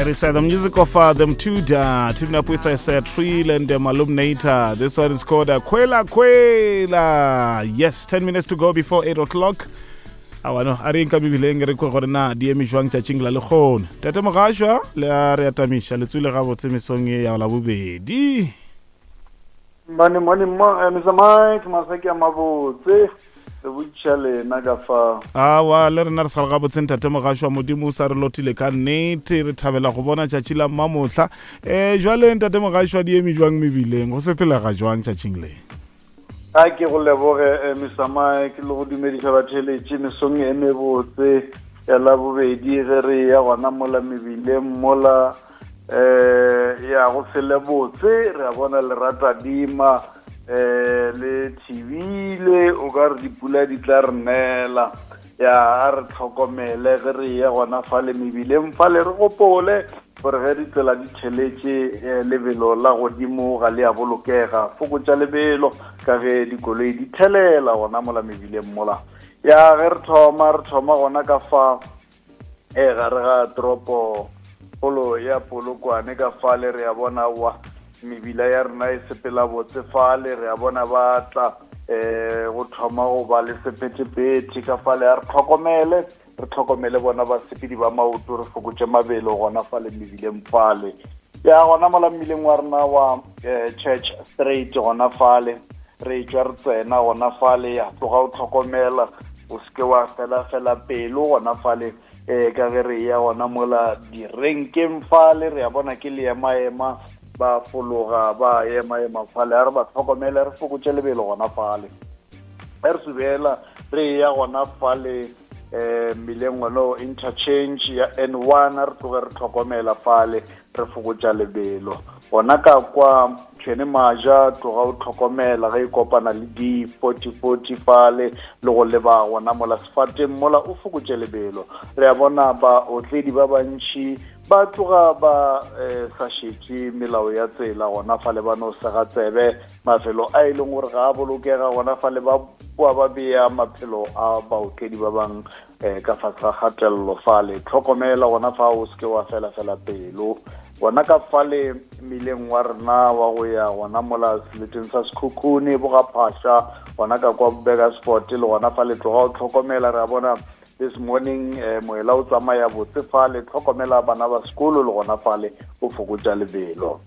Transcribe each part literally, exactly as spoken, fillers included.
It is uh, the music of uh, them two, uh, teaming up with us, uh, Trill and um, Alumnator. This one is called uh, Kwela Kwela. Yes, ten minutes to go before eight o'clock. Awa no, a re nka mebileng re kwe gore na di eme jwang tšatšing la lekgono. Tate Mogašwa, le a re atamiša le tswile gabotse mesong e ya labobedi. Mane mone mo eh, Mister Mike Masaki a mabotse re botšiša lena ka fa. Awa le rena re sa le gabotse ntate Mogašwa, modimo o sa re lotile ka nnete, re thabela go bona tšatši la mmamohla. Um jwale ntate Mogašwa, di eme jwang mebileng, go sepelega jwang tšatšing le? A ke go leboge eh, Mister Mike le go dumediša batheletši mesong e mebotse ya labobedi ge re ya gona mola mebileng mola eh ya go sele botse re a bona leratadima eh le thibile o ka re dipula di tla re nela. Ya a re tlhokomele ge re ya gona fale mebileng fale, re gopole gore ge ditsela di theletše lebelo la godimo ga le a bolokega, fokotša lebelo ka ge dikoloi di thelela gona mola mebileng mola. Ya ge re thoma re thoma gona ka fa e gare ga toropo kgolo ya Polokwane ka fale re a bona wa mebila ya rena e sepela botse fale, re a bona ba tla eh go thoma go ba le sephethephethe ka fale. A re tlhokomele re tlhokomele bona basepedi ba maoto, re fokotše mabelo gona fale mebileng fale. Ya gona mola mmileng wa rena wa eh, Church Street gona fale re tšwa re tsena gona fale, ya tloga o tlhokomela o seke wa fela fela pelo gona fale eh ka ge re ya gona mola direnkeng fale re a bona ke leemaema ba fologa ba ema-ema fale. A re ba tlhokomele re fokotše lebelo gona fale. Ge re subela re ya gona fale eh mmileng ono interchange ya N one, re tloge re tlhokomela fale re fokotša lebelo gona ka kwa Tšhwene Maja, tloga o tlhokomela ge e kopana le D forty forty fale le go leba gona mola sefateng mola o fokotše lebelo. Re a bona baotledi ba bantši ba tloga ba eh, sa šetše melao ya tsela gona fale, ba no sega tsebe mafelo a e leng gore ga a bolokega gona fale, ba boa ba bea maphelo a baotledi ba bang eh, ka fase ga kgatelelo fale. Tlhokomela gona fa o seke wa fela fela pelo gona ka fale mmileng wa rena wa go ya gona mola seleteng sa Sekhukhune bogaphasha gona ka kwa Burgersfort le gona fale tloga o tlhokomela. Re a bona this morning eh, moela o tsamaya botse fale, tlhokomela bana ba sekolo le gona fale o fokotša lebelo.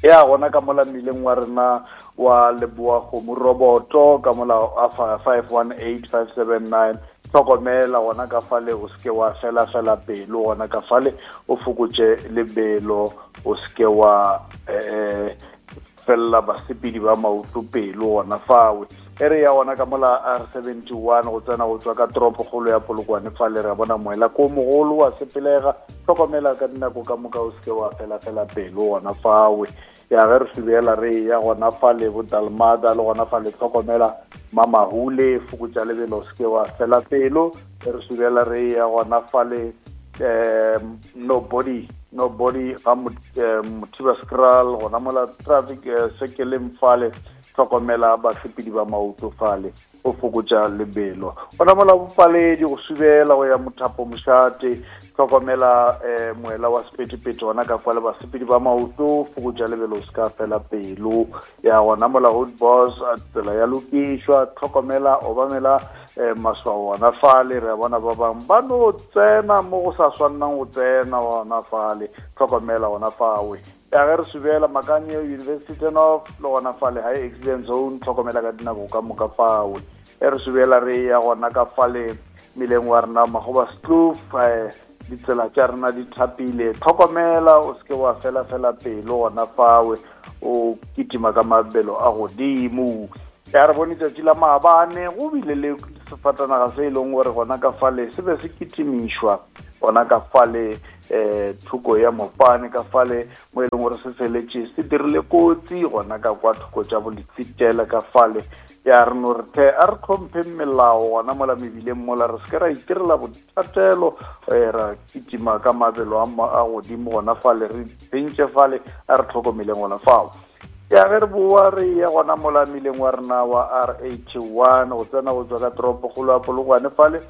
Ya gona ka mola mmileng wa rena wa Leboa Kgomo Roboto ka mola a five one eight five seven nine, tlhokomela gona ka fale o seke wa fela fela pelo gona ka fale o fokotše lebelo, o seke wa eh fella basepedi ba maoto pelo gona fawe. E re ya gona ka mola R seventy one go tsena go tswa ka toropokgolo ya Polokwane fale re a bona moela ko mogolo wa sepelega, tlhokomela ka dinako ka moka o seke wa fela fela pelo gona fawe. Ya ge re subela re ya gona fale bo Dalmada le gona fale tlhokomela Mamahule, fokotša lebelo o seke wa fela pelo. Re subela re ya gona fale eh nobody nobody ga Mothiba Skral gona mola traffic sekeleng fale, tlhokomela basepedi ba maoto fale o fokotša lebelo. Gona mola bopaledi go subela go ya Mothapo Mošate, tlhokomela eh moela wa sephethephethe gona ka kwa le basepedi ba maoto, fokotša lebelo o se ka fela pelo. Ya gona mola Hood Boss tsela ya lokišwa, tlhokomela obamela eh maswao gona fale. Re a bona ba bangwe ba no tsena mo go sa swannang go tsena gona fale, tlhokomela gona fawe. Ya ge re subela Makanye University turn off le gona fale high accident zone, tlhokomela ka dinako ka moka fawe. E re subela re ya gona ka fale mmileng wa rena Magoba Kloof, eh ditsela tša rena di thapile, tlhokomela o seke wa fela fela pelo gona fawe o kitima ka mabelo a godimo. Ya re bone tšatši la maabane go bile le sefatanaga se e leng gore gona ka fale se be se kitimišwa gona ka fale eh thoko ya Mopane ka fale mo e leng gore se feletše se dirile kotsi gona ka kwa thoko tša boletsitele ka fale. Ya re no re the a re tlhompheng melao gona mola mebileng mola, re seke ra itirela bothatelo ra kitima ka mabelo a godimo gona fale, re tsentše fale, a re tlhokomeleng gona fao. Ya ge re boa re ya gona mola mmileng wa rena wa R eighty one go tsena go tswa ka toropokgolo ya Polokwane fale,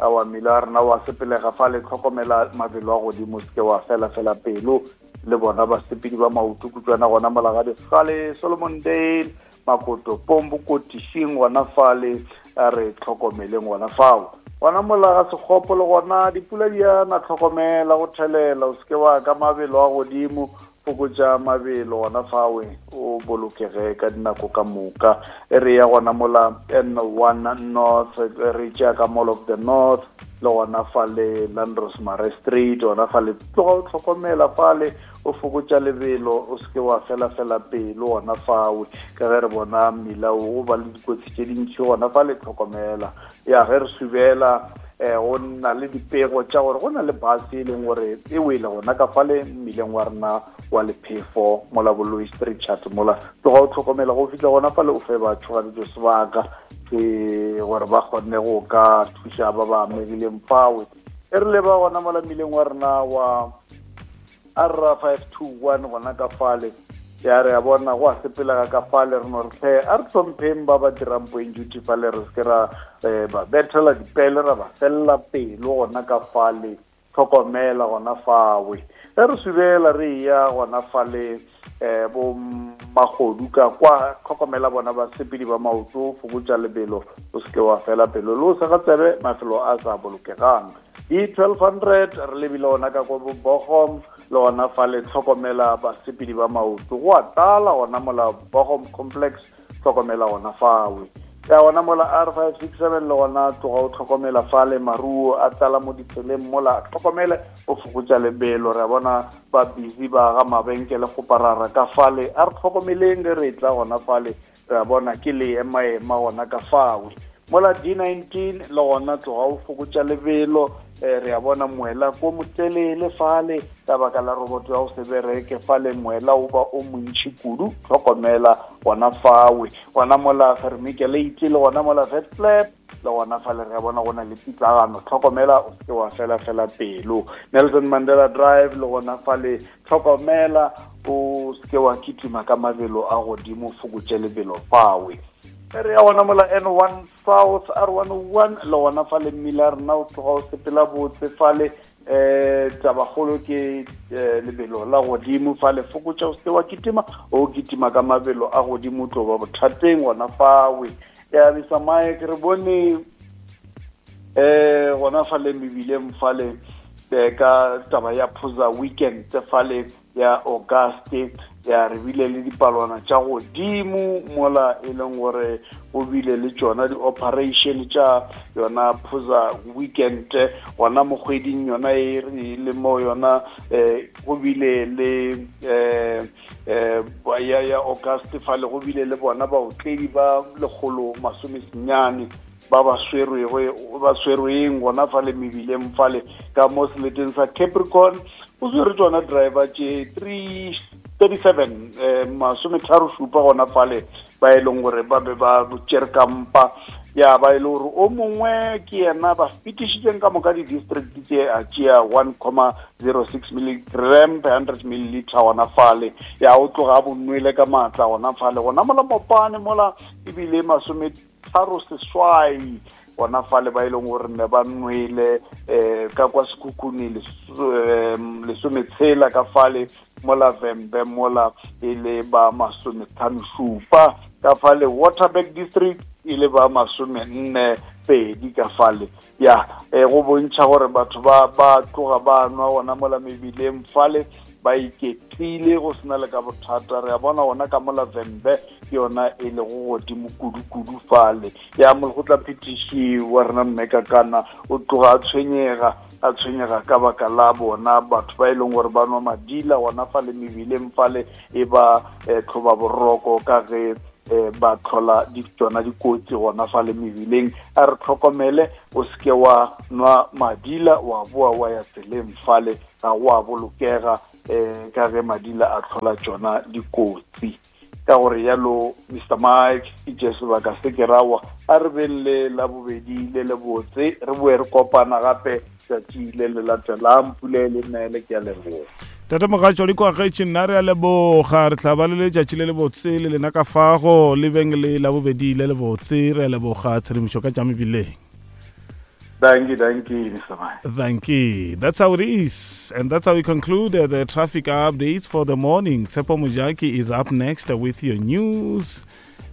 Awa mmila wa rena wa sepelega fale, tlhokomela mabelo a godimo, se ke wa fela fela pelo. Le bona basepedi ba maoto kutswana gona mola ga Dikgale, Solomon Dale, Makoto Pombo, Kotišing gona fale, a re tlhokomeleng gona fao. Gona mola ga Sekgopo le gona dipula di a na, tlhokomela go thelela, o seke wa ka mabelo a godimo, fokotša mabelo gona fawe, o bolokege ka dinako ka moka. E re ya gona mola N one North, re tšea ka Mall of the North, le gona fale Landros Mare Street, gona fale tloga o tlhokomela fale, o fokotša lebelo, o seke wa fela fela pelo gona fawe, ka ge re bona mmila o ba le dikotsi tše dintši gona fale, tlhokomela. Ya ge re subela eh go na le dipego tša gore go na le bus e leng gore e wele gona ka fale mmileng wa rena wa Lephefo mola Boloi Street Chat mola, tloga o tlhokomela go fihla gona fale, o fe ba tšhoganetšo sebaka ke gore ba kgone go ka thuša ba ba amegileng fawe. E re leba gona mola mmileng wa rena wa R five two one gona ka fale, ya re a bona go a sepelega ka fale, re no re hle a re hlompheng ba ba dirang point duty fale, re seke ra ba bethela dipele, ra ba felela pelo gona ka fale, tlhokomela gona fawe. Ge re subela re ya gona fale eh bo magodu ka kwa, tlhokomela bona basepedi ba maoto, fokotša lebelo, o seke wa fela pelo, le o sa ga tsebe mafelo a sa bolokegang. D twelve hundred re lebile gona ka kwa bo Bogom, le gona fale tlhokomela basepedi ba maoto, go a tlala gona mola Bogom complex, tlhokomela gona fawe. Ya gona mola R five six seven le gona tloga o tlhokomela fale, maruo a tlala mo ditseleng mola, tlhokomele o fokotša lebelo, re a bona ba busy ba ga mabenkele go parara ka fale, a re tlhokomeleng ge re tla gona fale, re a bona ke le ema-ema gona ka fawe. Mola D nineteen le gona tloga o fokotša lebelo, re a bona moela ko motelele fale ka baka la roboto ya go se bereke fale, moela o ba o montši kudu, tlhokomela gona fawe. Gona mola Vermiculate le gona mola Vetklep le gona fale re a bona go na le pitlagano, tlhokomela o seke wa fela fela pelo. Nelson Mandela Drive le gona fale tlhokomela o seke wa kitima ka mabelo a godimo, fokotše lebelo fawe. Re ya gona mola N one South R one oh one le gona fale mmila rena o tloga o sepela botse fale, eh tabakgolo ke lebelo la godimo fale, fokotša o seke wa kitima, o kitima ka mabelo a godimo tlo ba bothateng gona fawe. Ya Mister Mike re bone eh gona fale mebileng fale ka taba ya Phuza weekend fale ya August, ya re bile le dipalwana tša godimo mola e leng gore go bile le tšona di-operation tša yona Phuza weekend gona mo kgweding yona e re le mo yona um go bile le um um ya ya August fale go bile le bona baotledi ba lekgolo masomesenyane ba ba swerwego ba swerweng gona fale mebileng fale ka mo seleteng sa Capricorn, o swere tšona driver tše three thirty-seven eh masometharo šupa gona fale ba e leng gore ba be ba tšere kampa, ya ba e le gore o mongwe ke yena ba fetišitšeng ka moka di-district tše a tšea one comma zero six milligram per hundred milliliter gona fale, ya o tloga a bonwele ka maatla gona fale gona mola Mopane mola ebile masometharo seswai gona fale ba e leng gore ne ba nwele um ka kwa Sekhukhune lesometshela ka fale mola Vhembe mola e le ba masometlhano šupa ka fale Waterberg district e le ba masomenne pedi ka fale. Ya eh, go bontšha gore batho ba ba tloga ba nwa gona mola mebileng fale ba iketlile go sena le ka bothata, re a bona gona ka mola Vhembe ke yona e lego godimo kudu-kudu fale. Ya molekgotla phetiši wa rena mme Kakana o tloga a tshwenyega a tshwenyega ka baka la bona batho ba e leng gore ba nwa madila gona fale mebileng fale e ba tlhoba boroko ka ge ba tlhola di tsona dikotsi gona fale mebileng. A re tlhokomele o seke wa nwa madila wa boa wa ya tseleng fale, ga go a bolokega um ka ge madila a tlhola tsona dikotsi. Ka gore yalo Mister Mike ke tše sebaka se ke rawa, a re beng le la bobedi le le botse, re boe re kopana gape tšatši le le latelang. Pula e le nele, ke a leboga. Tate Mogatšo le kwagetše, nna re a leboga, re tla ba le letšatši le le botse le lena ka fago, le beng le la bobedi le le botse, re a leboga tshedimošo ka tša mebileng. Dankie, dankie, Mister Mike. Thank you. That's how it is. And that's how we conclude uh, the traffic updates for the morning. Tsepo Mujaki is up next with your news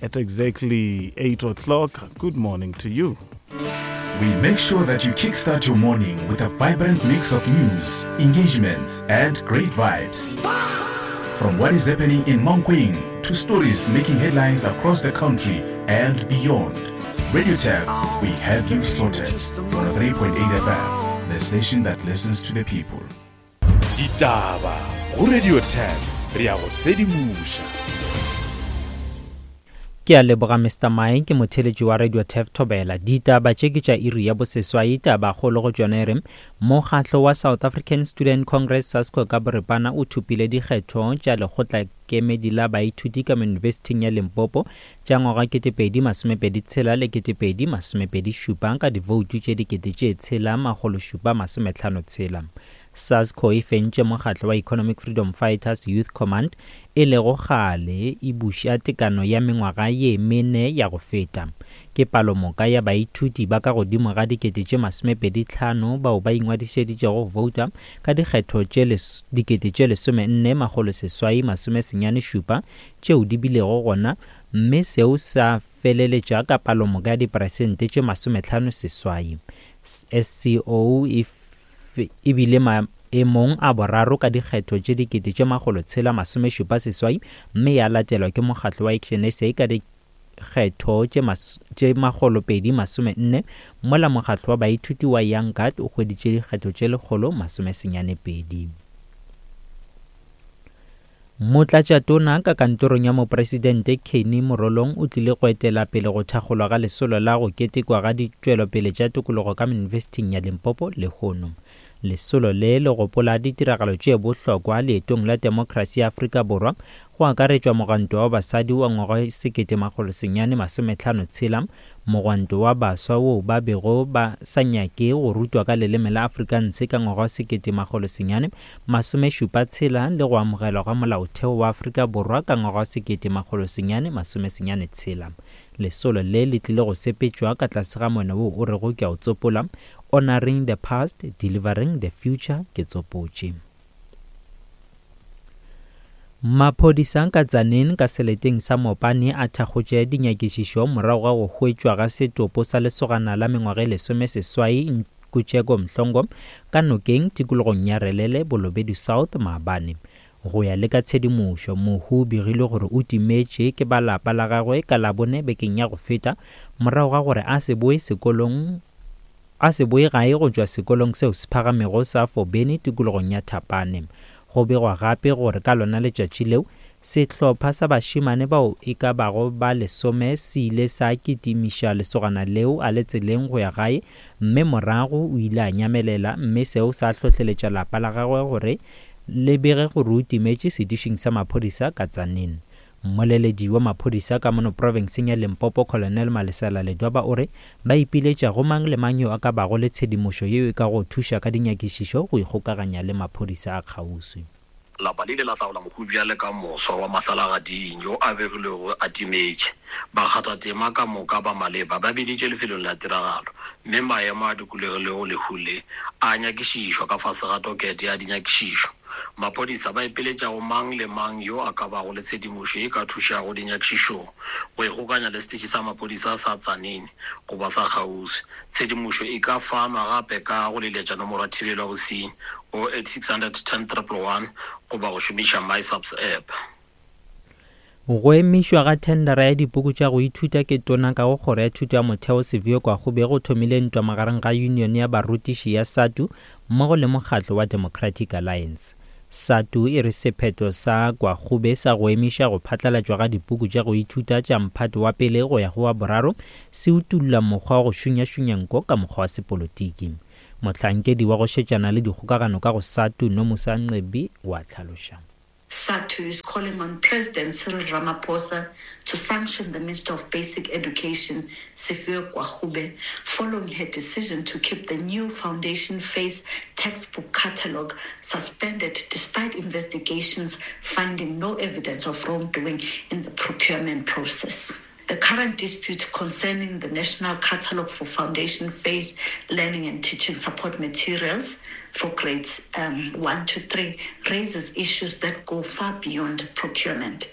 at exactly eight o'clock. Good morning to you. We make sure that you kickstart your morning with a vibrant mix of news, engagements, and great vibes. From what is happening in Mankweng to stories making headlines across the country and beyond. Radio T E F, we have you sorted. one oh three point eight F M, the station that listens to the people. Ditaba go Radio T E F, re a go sedimoša. Ke a leboga Mister Mike, ke motheletši wa Radio T E F Thobela. Ditaba tše ke tša iri ya boseswai, taba kgolo go tšona e re mokgatlo wa South African Student Congress SASCO ka boripana o thopile dikgetho tša lekgotla kemedi la baithuti ka Yunibesithing ya Limpopo tša ngwaga ketepedi masomepedi tshela le ketepedi masomepedi šupa ka divoutu tše dikete tše tshela makgolo šupa masometlhano tshela. SASCO e fentše mokgatlo wa Economic Freedom Fighters Youth Command e lego kgale e buša tekano ya mengwaga ye mene ya go feta. Ke palomoka ya baithuti ba ka godimo ga dikete tše masomepedi tlhano bao ba ingwadišeditšego go vouta ka dikgetho tše dikete tše lesomenne makgolo seswai masome senyane šupa tšeo di bilego gona, mme seo sa feleletša ka palomoka ya diperesente tše masometlhano seswai. S C O e e bile maemong a boraro ka dikgetho tše dikete tše makgolo tshela masome šupa seswai, mme ya latelwa ke mokgatlo wa Action S A ka dikgetho tše makgolo pedi masome nne, mola mokgatlo wa baithuti wa Young Guard o hweditše dikgetho tše lekgolo masome senyane pedi. Motlatšatona ka kantorong ya mopresidente Kenny Morolong o tlile go etela pele go thakgolwa ga lesolo la go ketekwa ga ditšwelopele tša tokologo ka Yunibesithing ya Limpopo lehono. Lesolo le le gopola ditiragalo tše bohlokwa leetong la demokrasi ya Afrika Borwa, go akaretšwa mogwanto wa basadi wa ngwaga sekete makgolo senyane masometlhano tshela, mogwanto wa baswa wo ba bego ba sa nyake go rutwa ka leleme la Afrikaans ka ngwaga sekete makgolo senyane masome šupa tshela, le go amogelwa ga molaotheo wa Afrika Borwa ka ngwaga sekete makgolo senyane masome senyane tshela. Lesolo le le tlile go sepetšwa ka tlase ga mono wo o rego ke a o tsopola, Honoring the Past, Delivering the Future, ke tsopotše. Maphodisa ka Tzaneen ka seleteng sa Mopani a thakgotše dinyakišišo morago ga go hwetšwa ga setopo sa lesogana la mengwaga e lesome seswai Nkutšeko Mhlongo ka nokeng tikologong ya Relele Bolobedu South maabane. Go ya le ka tshedimošo, mohu o begilwe gore o timetše ke ba lapa la gagwe ka Labone bekeng ya go feta morago ga gore a se boe sekolong a se boe gae go tšwa sekolong seo se phagamego sa Fobeni tikologong ya Thapane. Go begwa gape gore ka lona letšatši leo sehlopha sa bašemane bao e ka bago ba lesome se ile sa kitimiša lesogana leo a le tseleng go ya gae, mme morago o ile a nyamelela, mme seo sa hlohleletša lapa la gagwe gore le bege gore o timetše setišing sa maphodisa ka Tzaneen. Mmoleledi wa maphodisa ka mono profenseng ya Limpopo Colonel Malesela Ledwaba o re ba ipiletša go mang le mang yo a ka bago le tshedimošo yeo e ka go thuša ka dinyakišišo go ikgokaganya le maphodisa a kgauswi. Lapa le ile la hlaola mohu bjale ka moswa wa mahlalagading yo a begilwego a timetše. Bakgathatema ka moka ba maleba ba biditše lefelong la tiragalo, mme maemo a dikologilego lehu le a nyakišišwa ka fase ga tokete ya dinyakišišo. Maphodisa ba ipiletša go mang le mang yo a ka bago le tshedimošo e ka thušago dinyakišišong go ikgokanya le seteše sa maphodisa sa Tzaneen goba sa kgauswi. Tshedimošo e ka fanwa gape ka go leletša nomoro ya thibelo ya bosenyi oh eight six hundred ten triple one goba go šomiša MySAPS app. Go emišwa ga thendara ya dipuku tša go ithuta ke tona ka go kgoro ya thuto ya motheo Siviwe Gwarube go thomile ntwa magareng ga union ya barutiši ya SADTU mmogo le mokgatlo wa Democratic Alliance. SADTU e re sephetho sa Gwarube sa go emiša go phatlalatšwa ga dipuku tša go ithuta tša mphato wa pele go ya go wa boraro se utulla mokgwa wa go šunyašunya nko ka mokgwa wa sepolotiki. Mohlankedi wa go šetšana le dikgokagano ka go SADTU Nomusa Ncebi wa tlhaloša. SADTU is calling on President Cyril Ramaphosa to sanction the Minister of Basic Education, Siviwe Gwarube, following her decision to keep the new Foundation Phase textbook catalogue suspended despite investigations finding no evidence of wrongdoing in the procurement process. The current dispute concerning the National Catalogue for Foundation Phase Learning and Teaching Support Materials for grades um, one to three raises issues that go far beyond procurement.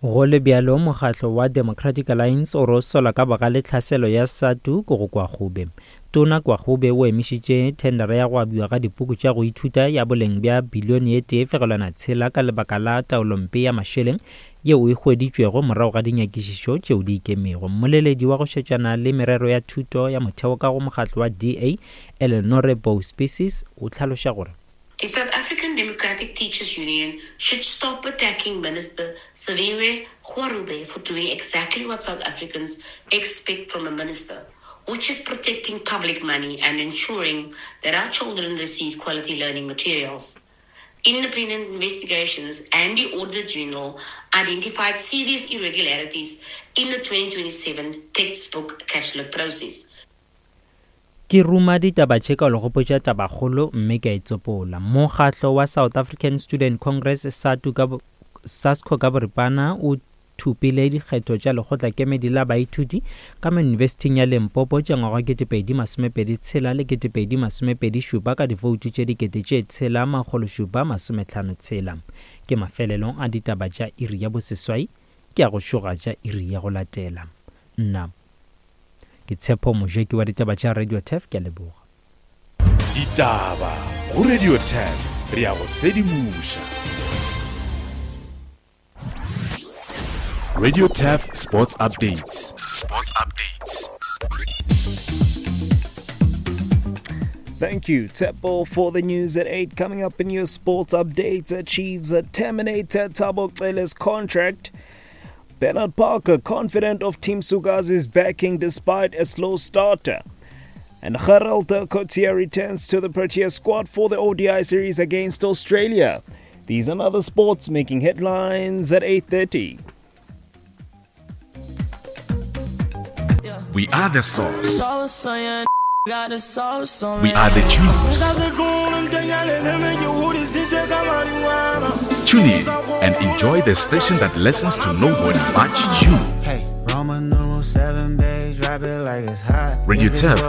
Go le bjalo, mokgatlo wa Democratic Alliance o re o sola ka bogale tlhaselo ya SADTU ko go Gwarube. Tona Gwarube o emišitše thendera ya go abiwa ga dipuku tša go ithuta ya boleng bja bilione e tee fegelwana tshela ka lebaka la taolompe ya mašeleng yeo e hweditšwego morago ga dinyakišišo tšeo di ikemego. Mmoleledi wa go šetšana le merero ya thuto ya motheo ka go mokgatlo wa D A, Eleanore Bouw-Species, o hlaloša gore The South African Democratic Teachers Union should stop attacking Minister Siviwe Gwarube for doing exactly what South Africans expect from a minister, which is protecting public money and ensuring that our children receive quality learning materials. Independent investigations and the Auditor General identified serious irregularities in the twenty twenty-seven textbook catalogue process. Ke ruma ditaba tše ka le gopotša tabakgolo mme ke a itsopola. Mokgatlo wa South African Student Congress SADTU ka SASCO ka boripana o thupile dikgetho tša lekgotlakemedi la baithuti ka mo Yunibesithing ya Limpopo tša ngwaga ketepedi masomepedi tshela le ketepedi masomepedi šupa ka divoutu tše dikete tše tshela makgolo šupa masometlhano tshela. Ke mafelelong a ditaba tša iri ya boseswai, ke a go šoga tša iri ya go latela. Nna ke Tshepo Mojeki wa ditaba tša Radio Turf, ke a leboga. Ditaba go Radio Turf, re a go sedimoša. Radio Turf Sports Updates. Sports Updates. Thank you, Tshepo, for the news at eight. Coming up in your sports updates, Chiefs terminate Thabo Cele's contract. Bernard Parker confident of Team Sukazi's backing despite a slow starter. And Gerald Coetzee returns to the Protea squad for the O D I series against Australia. These and other sports making headlines at eight thirty. We are the source. We are the juice. Tune in and enjoy the station that listens to nobody but you. Radio Turf,